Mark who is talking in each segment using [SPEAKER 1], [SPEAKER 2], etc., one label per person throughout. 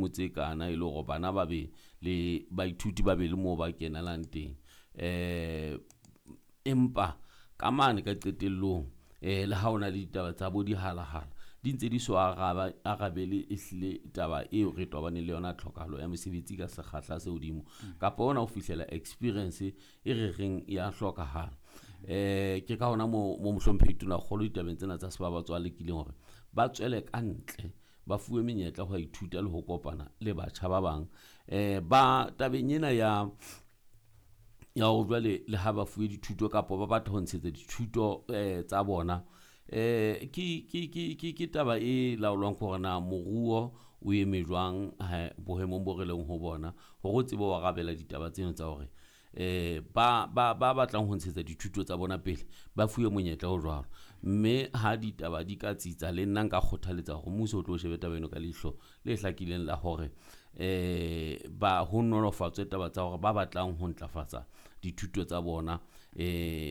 [SPEAKER 1] Ditshimo tse kana e le hore bana ba be le baithuti ba be le moo ba kenelang teng. Empa ka mane ka qetellong le ha ona le ditaba tsa bo dihalahala di ntse di so arabele ehlile taba eo re tobaneng le yona, tlhokahalo ya mesebetsi ka sekgahla se hodimo kapa ona ho fihlela experience e re reng ya hlokahala. Ke ka hona mo mohlomphehi Tonakgolo ditabeng tsena tsa sebabatso a lekileng hore ba tswele ka ntle, ba fuwe menyetla ho ithuta le ho kopana le batjha ba bang. Ba tabeng ena ya hore jwale le ha ba fuwe dithuto kapa ba batla ho ntshetsa dithuto tsa bona, ke taba e laolwang ke hore na moruo o eme jwang boemong bo re leng ho bona, hore o tsebe ho arabela ditaba tseno tsa hore ba batlang ho ntshetsa dithuto tsa bona pele ba fuwe monyetla o jwalo. Mme ha ditaba di ka tsitsa, le nna nka kgothaletsa hore mmuso o tlo shebe taba eno ka leihlo le hlakileng la hore ba ho nolofatswe taba tsa hore ba batlang ho ntlafatsa dithuto tsa bona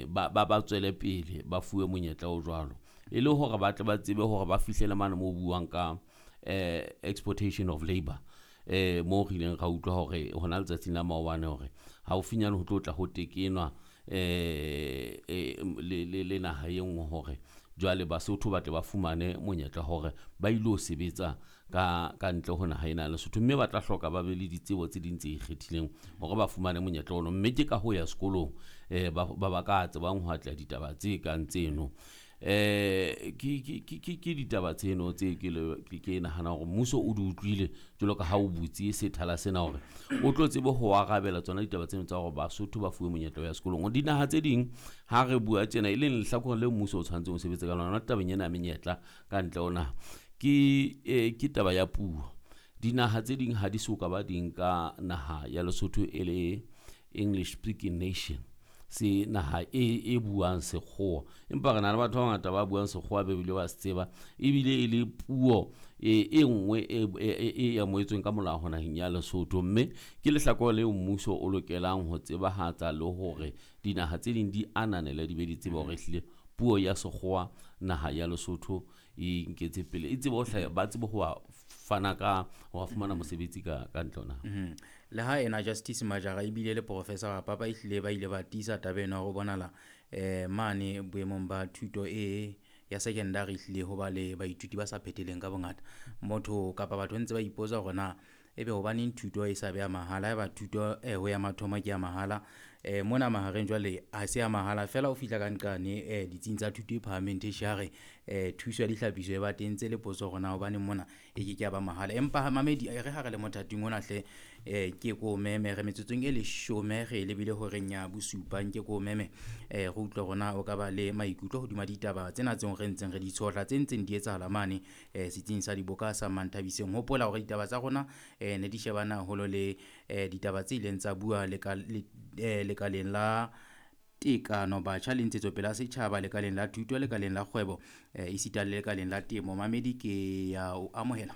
[SPEAKER 1] ba tswele pele, ba fuwe monyetla o jwalo, e le hore ba tle ba tsebe hore ba fihlele mane moo buang ka exportation of labour. Mo re ileng ra utlwa hore hona letsatsing la maobane hore haufinyane ho tlo tla ho tekenwa le naha e nngwe hore jwale Basotho ba tle ba fumane monyetla hore ba ilo sebetsa ka ntle ho naha ena ya Lesotho, mme ba tla hloka ba be le ditsebo tse ding tse ikgethileng hore ba fumane monyetla ono. Mme ke ka ho ya sekolong ba ka tsebang ho atleha ditaba tse kang tseno. Ke ditaba tseno tse ke nahana hore mmuso o di utlwile jwalo ka ha o butse sethala sena hore o tlo tsebe ho arabela tsona ditaba tseno tsa hore Basotho ba fuwe monyetla wa ya sekolong. Dinaha tse ding ha re bua tjena e leng lehlakore le mmuso o tshwanetseng ho sebetsa ka lona tabeng ena ya menyetla ka ntle ho naha, ke taba ya puo. Dinaha tse ding ha di so ka ba di nka naha ya Lesotho e le English speaking nation, se naha e buang sekgowa, empa re na le batho ba bangata ba buang sekgowa ba bile ba se tseba, ebile e le puo e nngwe e amohetsweng ka molao naheng ya Lesotho. Mme ke lehlakore leo mmuso o lokelang ho tsebahatsa le hore dinaha tse ding di ananele, di be di tsebe hore ehlile puo ya sekgowa naha ya Lesotho e nketse pele, e tsebe ho hlaha, ba tsebe ho fana ka ho fumana mosebetsi ka ntle ho naha.
[SPEAKER 2] Le ha ena Justice Majara ebile le Professor Papa ehlile ba ile ba tiisa taba ena hore bonala mane boemong ba thuto e ya secondary ehlile ho ba le baithuti ba sa phetheleng ka bongata. Motho kapa batho ntse ba ipotsa hore na ebe hobaneng thuto e sa be ya mahala, eba thuto ho ya mathomo ke ya mahala, mona mahareng jwale ha se ya mahala fela o fihla ka nqane ditsing tsa thuto e phahameng tertiary, thuso ya dihlapiso e ba teng tse le potso hore na hobaneng mona e ke ke ya ba mahala. Empa mamedi re ha re le mothating ona hle, ke ko meme re metsotsong e 10 re lebile horeng ya bosupa, nke ko meme re utlwe rona o ka ba le maikutlo hodima ditaba tsena tseo re ntseng re di tshohla tse ntseng di etsahala mane setsing sa diboka sa Manthabiseng. Hopola hore ditaba tsa rona ne di shebana haholo le ditaba tse ileng tsa bua lekaleng la tekano batjha le ntshetsopele ya setjhaba, lekaleng la thuto, lekaleng la kgwebo, esita le lekaleng la temo. Mamedi ke ya o amohela.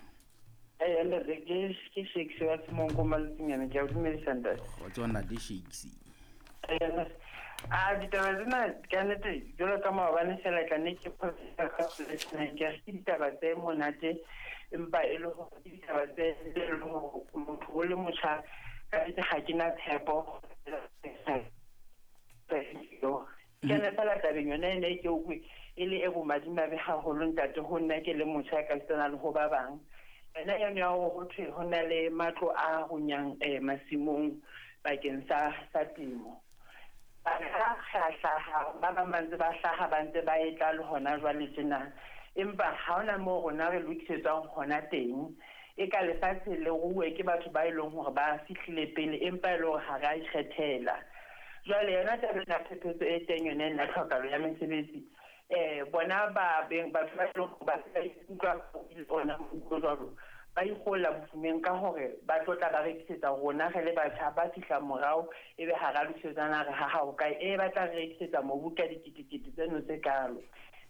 [SPEAKER 3] Ntate, ke Shakes wa Semonko Matsinyane, ke a o dumedisa ntate.
[SPEAKER 2] Kgotso ntate Shakes.
[SPEAKER 3] A ditaba tsena ka nnete jwalo ka maobane fela tla ne ke ke ditaba tse monate, empa e le hore ke ditaba tse le hore motho o le motjha ka nnete ha ke na tshepo. Ke ne fela tabeng yona ene ke utlwe e le e bomadimabe haholo ntate ho nna ke le motjha ka setsana le ho ba bang. Ena yone ya hore ho thwe ho na le matlo a runyang masimong bakeng sa temo. Ba hlaha ba bang ba ntse ba hlaha ba ntse ba etla le hona jwale tjena, empa ha hona moo rona re lokisetswang hona teng. E ka lefatshe le ruwe ke batho ba e leng hore ba fihlile pele, empa e le hore ha re a ikgethela. Jwale yona taba ena phephetso e teng yona ena tlhokahalo ya mesebetsi, bona ba beng batho ba e leng hore ba ikutlwa ona jwalo, ba ikgolla bofumeng ka hore ba tlo tla ba rekisetsa rona re le batjha ba fihla morao, ebe ha ra lokisetsana re ha hao kae, e ba tla re rekisetsa mobu ka diketekete tseno tse kalo.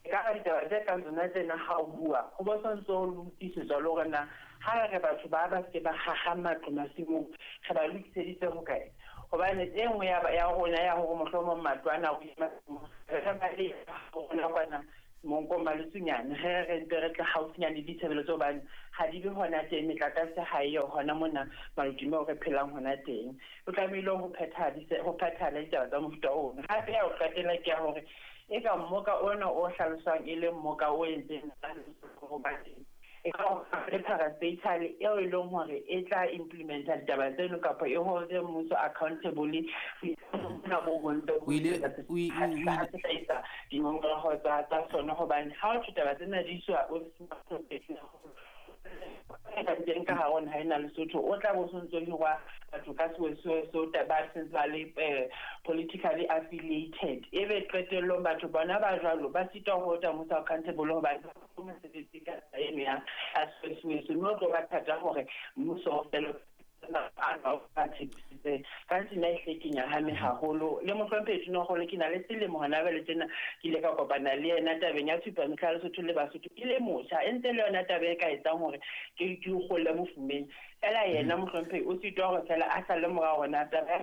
[SPEAKER 3] Ka ditaba tse kang tsona tsena ha o bua ho bo sontso o lokisetswa le hore na ha re batho ba ba se ba haha matlo masimong re ba lokiseditse hokae, hobane e nngwe ya rona ya hore mohlomong matlo ana a masimong re ba le rona kwana Monkong Maletsunyane ge re ntse re tla haufinyane le ditshebeletso hobane ha di be hona teng, metlakase ha eyo hona mona Malodimo re phelang hona teng. O tlamehile ho phethahala ditaba tsa mofuta ono. Hape ya ho qetela ke ya hore e ka mmoka ona o hlaloswang e le mmoka o entseng e ka le parastatal eo e leng hore e tla implementa ditaba tseno kapa e holde mmuso accountable hlahisa dingongoreho tsa sona, hobane ha o taba tsena di iswa teng ka hare ho naha ena Lesotho, o tla bo sontso hirwa batho ka sewesewe ba sentse ba le politically affiliated, ebe qetellong batho bona ba jwalo ba sitwa ho holda mmuso accountable hobane mosebetsi ka eno ya sewesewe, mme o tlo ba thata hore mmuso o fele ka nna ehle ke nyahame haholo. Le mohlomphehi Tonakgolo ke na le selemo hona jwale tjena ke ile ka kopana le yena tabeng ya Tshupamehla ya Lesotho le Basotho ke le motjha, e ntse le yona taba e ka etsang hore ke kgolle mofumeng. Fela yena mohlomphehi o sitwa hore fela a sale morao hore taba ya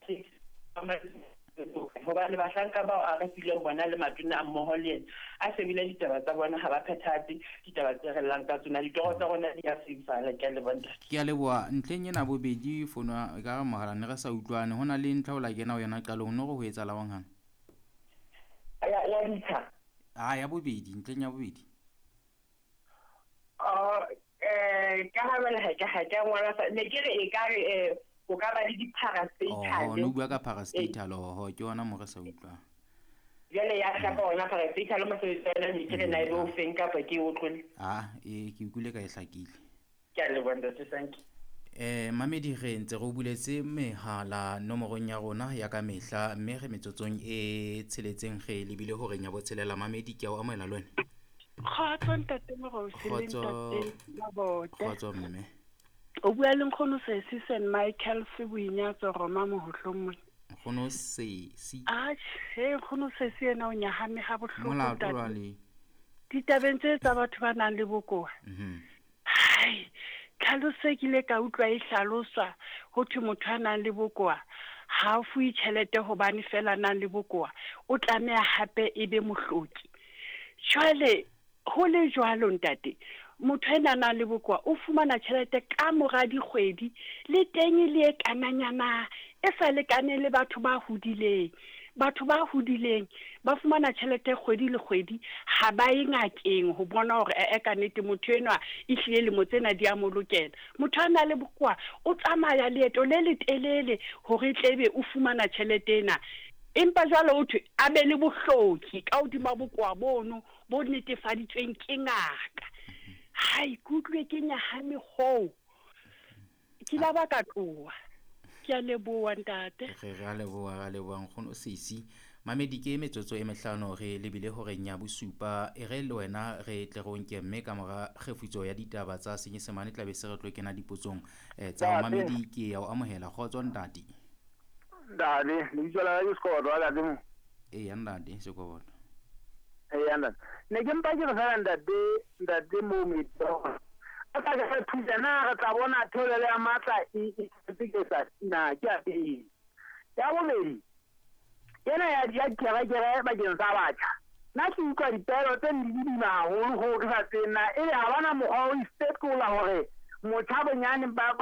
[SPEAKER 3] hobane bahlanka bao a re fileng bona le matona a mmoho le yena a shebile ditaba tsa bona, ha ba phethahatse ditaba tse re llang ka tsona, ditoro tsa rona di a fifala. Ke a leboha ntate.
[SPEAKER 2] Ke a leboha. Ntlheng ena bobedi fono e ka re mohala ne re sa utlwane, ho na le ntlha o la kena ho yona qalong, no re ho etsahala hang hang
[SPEAKER 3] ya ditsha
[SPEAKER 2] a ya bobedi, ntlheng ya bobedi
[SPEAKER 3] ka ha bana ha ke ngwala ne ke re e ka re o ka ba le di-parastatal.
[SPEAKER 2] No bua ka parastatal, oho ke yona mo re sa utlwang.
[SPEAKER 3] Jwale ya hlapa ona parastatal mosebetsi wa yona, ke re na ebe o feng kapa ke o tlole?
[SPEAKER 2] Ke utlwile ka e hlakile.
[SPEAKER 3] Ke a leboha ntate, thank you.
[SPEAKER 2] Mamedi re ntse re o buletse mehala nomorong ya rona ya ka mehla, mme re metsotsong e tsheletseng re lebile horeng ya botshelela. Mamedi ke a o amohela le wena.
[SPEAKER 4] Kgotso ntate Moruti le ntate Mabote.
[SPEAKER 2] Kgotso mme.
[SPEAKER 4] O bua le nkgono Sesi St Michael se Boinyatso Roma mohohlong mona.
[SPEAKER 2] Nkgono Sesi.
[SPEAKER 4] Atjhe, nkgono Sesi yena o nyahame ha bohloko
[SPEAKER 2] Molato jwale.
[SPEAKER 4] Ditabeng tse tsa batho ba nang le bokowa. Hai, tlhaloso ke ile ka utlwa e hlaloswa ho thwe motho a nang le bokowa ha a fuwe tjhelete hobane fela nang le bokowa, o tlameha hape e be mohloki. Jwale ho le jwalo ntate, motho ena nang le bokowa o fumana tjhelete ka mora dikgwedi, le teng le e kananyana e sa lekaneng le batho ba hodileng. Batho ba hodileng ba fumana tjhelete kgwedi le kgwedi, ha ba ye ngakeng ho bona hore ka nnete motho enwa ehlile lemo tsena di a mo lokela. Motho a nang le bokowa o tsamaya leeto le letelele hore tlebe o fumana tjhelete ena, empa jwale o thwe a be le bohloki ka hodima bokowa bono bo netefaditsweng ke ngaka. Hai, ke utlwe ke nyahame hoo, ke la ba ka tloha. Ke a leboha ntate.
[SPEAKER 2] Re a leboha, re a leboha nkgono Sesi. Mamedi ke metsotso e mehlano re lebile horeng ya bosupa, e re le wena re tle re o nke, mme ka mora kgefutso ya ditaba tsa Senyesemane tla be se re tlo kena dipotsong tsa Mamedi. Ke ya o amohela. Kgotso ntate.
[SPEAKER 5] Ntate, lebitso la ka ke Sekoboto wa ntate mo.
[SPEAKER 2] Eya ntate Sekoboto.
[SPEAKER 5] Eya ntate. Ne ke mpa ke re fela ntate mo metso. A ka re thusa na re tla bona theolelo ya matla e ke sa na ke a pele. Ya bobedi, ena ya kerekere bakeng sa batjha. Nna ke utlwa dipehelo tse di boima haholo hoo ke sa tsebeng na ebe ha bana mokgwa o ifetola hore motjha bonyane ba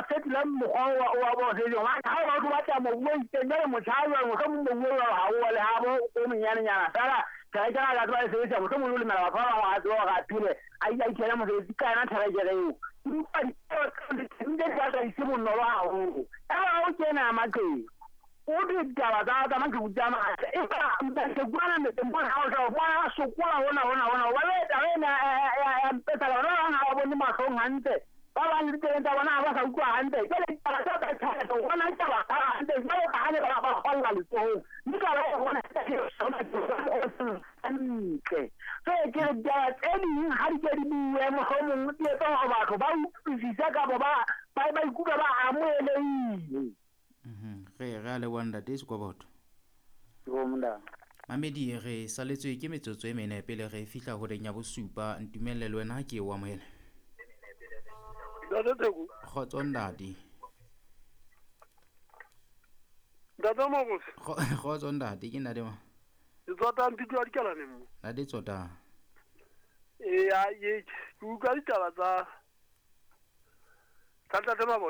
[SPEAKER 5] fetola mokgwa wa bo sejong. Ha o batho batla mobu o itseng, jwale motjha jwale mohlomong mobu o jwalo ha o le habo o monyanenyana fela therekere a ka tseba e sebedisa, mohlomong o lemela batho ba bang hore a tsebe hore a phele a ikele mosebetsi ka yona therekere eo. Ke utlwa dipehelo tseo di batla di se bonolo haholo. Eba o kena maqheku, o ditaba tsa maqheku tsa matla, empa maqheku ana metseng mona ha o tla o bona a sokola hona hobane taba ena ya mpetsa bana ba bang ha ba bone mahlong hantle, ba bang le ditseleng tsa bona ha ba sa utlwa hantle. Jwale ditaba tsa tsa tjhelete o bona taba hantle jwalo ka ha ne ba kgolla letsohong, mme taba e bona hantle. So ke re ditaba tse ding ha di ke di bue, mohlomong di etsa hore batho ba utlwisise kapa ba ikutlwa ba amohelehile.
[SPEAKER 2] Re a leboha ntate Sekoboto. Mamedi re saletswe ke metsotso e mene pele re fihla horeng ya bosupa. Ntumelle le wena ke o amohele.
[SPEAKER 5] Ntate Theko.
[SPEAKER 2] Kgotso ntate.
[SPEAKER 5] Ntate Moruti.
[SPEAKER 2] Kgotso ntate, ke ntate ma.
[SPEAKER 5] Ke tsota mpitlo ya dikalaneng mo.
[SPEAKER 2] Ntate tsota.
[SPEAKER 6] Ee, ke utlwa ditaba tsa ntate Mabote.